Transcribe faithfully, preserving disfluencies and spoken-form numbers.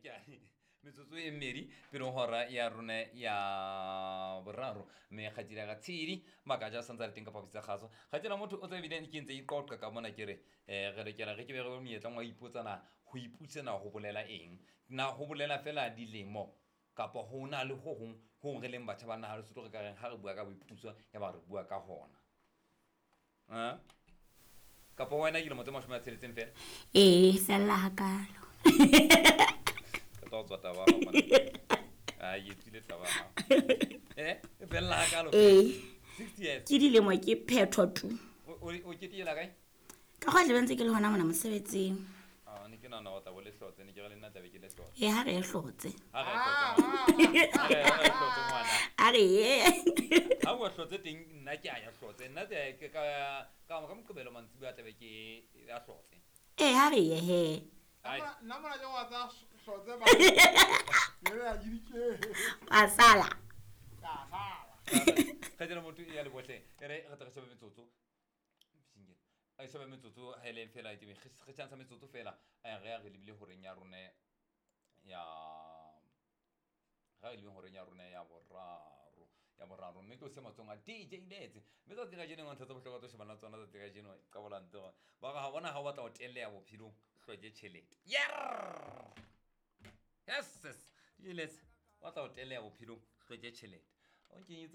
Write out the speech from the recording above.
Ke metsotso e mmedi pele hora ya rona ya boraro, mme kgatile ga tshedi makaja a santse a le teng ka phaposi tsa kgaso. Kgatela motho o tsebile ke ntse iqoqa ka mona, ke re um re lokela re ke be re monyetleng wa ipotsa na ho ipusa na ho bolela eng, na ho bolela fela dilemo kapa ho na le ho hong ho re leng batjha ba naha Lesotho re ka reng ha re bua ka boipuso ya ba re bua ka hona. Ah? Kapa wena dilemo tse mashome a tsheletseng fela? Ee, fella hakalo. Ka tla tswa taba ya hao mona. Ah, e tswile taba ya hao. Eh, e fella hakalo? Ee. Sixty years. Ke dilemo ke phetho tu. O o o ketekela kae? Ka kgwa tlabe ntse ke le hona mona mosebetsing. Ah, ne ke nahana hore o tla bo le hlotse, ne ke re le nna tlabe ke le hlotse. Ee, ha re e hlotse. Ha re e hlotse. Ha re e hlotse ngwana. A re ye. Ha o hlotse teng nna ke a ya hlotse. Nna ke ka ka ka Moqebelo mantsibuya a tlabe ke ya hlotse. Ee, ha re ye he. Ai. Nna mona ke wa tsa hlotse ba. Ke re a ke. Wa sala. Ka sala. Kgajena motho ya le bohle. E re re tle re shebe metsotso. Singel. A shebe metsotso ha ele fela ke re chance metsotso fela. Re ya re lebile horeng ya rona ya ga e lebeng horeng ya rona ya boraro. Ya boraro mme ke o se matsong a D J Letse. Mme tsatsi la kajeno ntho tsa bohlokwa tso shebana tsona tsatsi la kajeno ka bolante hore ba re ha bona ha o batla ho telleha bophelong hloke tjhelete. Yerr! Yes, yes. D J Letse, o batla ho telleha bophelong hloke tjhelete. O nkenyetse